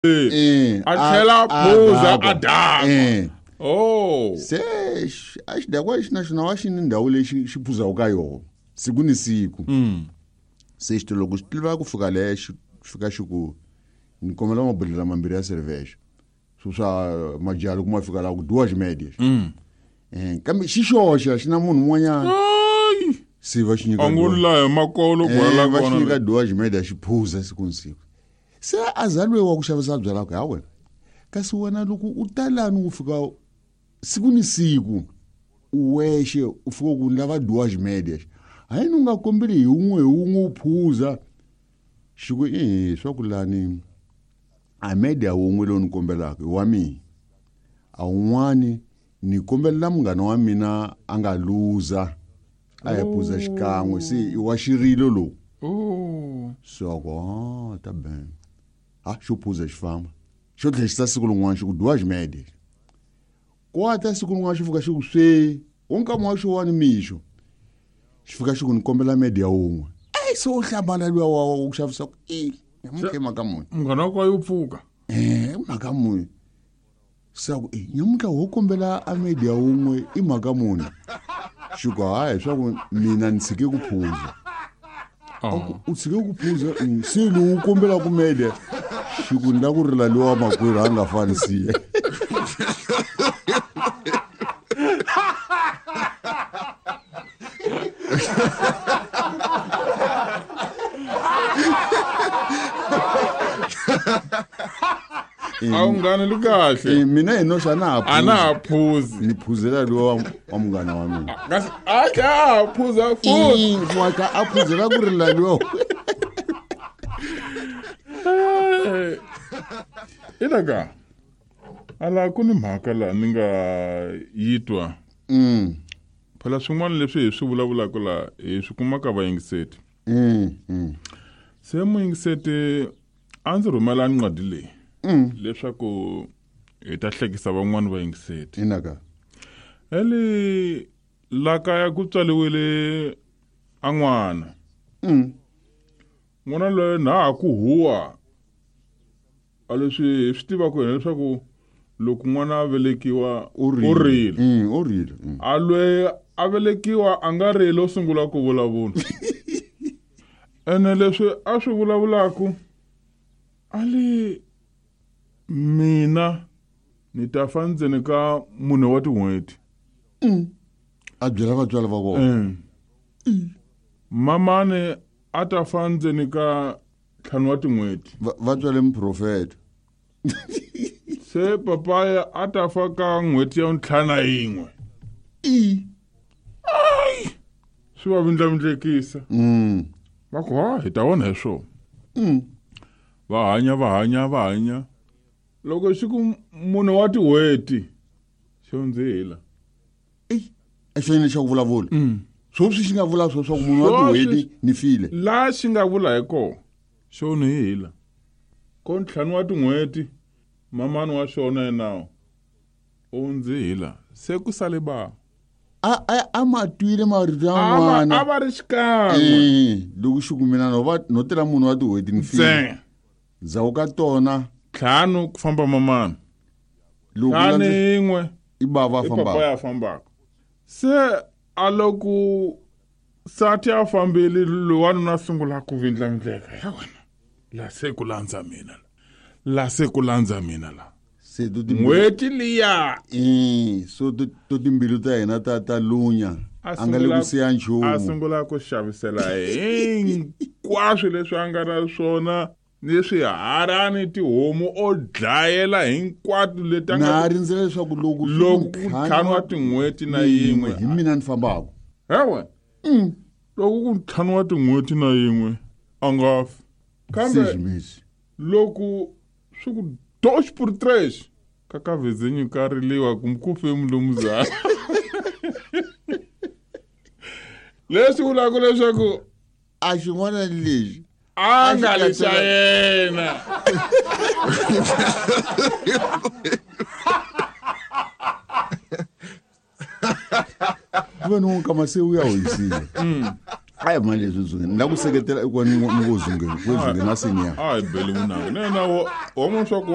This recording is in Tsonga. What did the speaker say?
A tlhela a phuza a dakwa. Oh. Se a xidakwa lexi na xona wa xi ni ndhawu lexi xi phuzaka ka yona siku ni siku. Se xi te loko xi tiva ku fika le xi fika xi ku ni kombela mabodhlela mambirhi ya cerveja swo swa majaha loko ma fika laha ku dyiwa ximedia. Kambe xi xoxe xi na munhu un'wanyana. Se va xi nyika A ngo la hi makolo kwala va xi nyika dyiwa ximedia xi phuza siku ni siku. Se a za loyi wa ku xavisa byala ku ha wena kasi wena loko u ta lani u fika siku ni siku u wexe u fika ku ni lava dyiwa ximedia hayini u nga kombeli hi wun'we hi wun'we u phuza xi ku i swa ku lani a media wun'we lowu ni kombelaka i wa mina a wun'wani ni kombelela munghana wa mina a nga luza a ya phuza xikan'we se i wa xirilo lowu. Se a ku ha ta ben ha xo phuza xi famba xo tlhela xi ta siku rin'wana xi ku dyiwa ximede kwata siku rin'wana xi fika xi ku swe wo nkama wa xo wa ni mixo xi fika xi ku ni kombela mede ya wun'we eyi se u hlambana luya wa ku xavisa ku i nyamuntlha i mhaka muni munghana wa kwa yo pfuka mhaka muni se a ku e nyamuntlha ho kombela a mede ya wun'we i mhaka muni xi ku hayi swa ku mina ni tshike ku phuza. U tshike ku phuza se lowu u kombelaka mede xi ku ni la ku rila lowa makwerhu a nga fani siya. A wu nghana li kahle. Mina hi noxa a na ha A na ha phuzi. Ni phuzela lowa wa munghana wa mina. Kasi a tlhela a ha phuza futhi. Wa ka a phuzela ku rila lowa. Ina ka ala ku ni mhaka laha ni nga yi twa. Phela swin'wana leswi hi swi vulavulaka laha hi swi kuma ka vayingiseti. Se muyingiseti a ndzi rhumela ncwadi leyi leswaku hi ta hlekisa van'wani vayingiseti. Ina ka. Eli la kaya ku tswariwile a n'wana. N'wana loyi na ha ku huwa a leswi hi swi tivaka hina leswaku loko n'wana a velekiwa u rile. U rile. A loyi a velekiwa a nga rili o sungula ku vulavula. Ene leswi a swi vulavulaka a li mina ni ta fa ndzeni ka mune wa tin'hweti. A byela vatswari va vona. Mamani a ta fa ndzeni ka ntlhanu wa tin'hweti. Va tswale muprofeta. Se papaya a ta fa ka n'hweti ya ntlhanu na yin'we. Ai! Swi va vindlavindlekisa. Va ku ha hi ta vona hi swona. Va hanya va hanya va hanya. Loko xi ku mune wa tin'hweti xo ndzihila. Ei, a xo yini xa ku vulavula? Sweswi xi nga vula swo swa ku munhu wa tin'hweti ni file. La xi nga vula hi kona xo nihila. Ko ntlhanu wa tin'hweti mamani wa xona yena u ndzihila se ku sale ba. A ma twile marito ya n'wana. A va ri xikan'we. Loko xi ku mina no va no tela munhu wa tin'hweti ni file. Ndzhaku ka tona ntlhanu ku famba mamani. Loko Ntlhanu yin'we i bava i papa ya fambaka. Se a loko sati a fambile lowanuna a sungula ku vindlavindleka ya wena la se ku landza mina la se ku landza mina la. Se to N'hweti liya. So to timbilu ta hina ta lunya. A nga le ku siya nchumu. A sungula ku xavisela hinkwaswo leswi a nga na swona ni swiharani tihomu o dlayela hinkwato leti a nga Na rindzela leswaku loko swi loko ku ku ntlhanu wa tin'hweti na yin'we hi mina ni fambaka. Ewe. Loko ku ntlhanu wa tin'hweti na yin'we a nga fi. Kambe Sejimesi. loko swi ku dois por três kakavezenyu ka riliwa kumbe ku fe mulumuzana. Leswi vulaka leswaku a xin'wana lexi a nga li xa yena. Ku ve ni nkama se u ya hoyisile. A hi mali leswi zungeni ni la ku seketela i ku ni ngo zungeni ku zungeni na senior. A hi beli munanga na yena wa vona swa ku.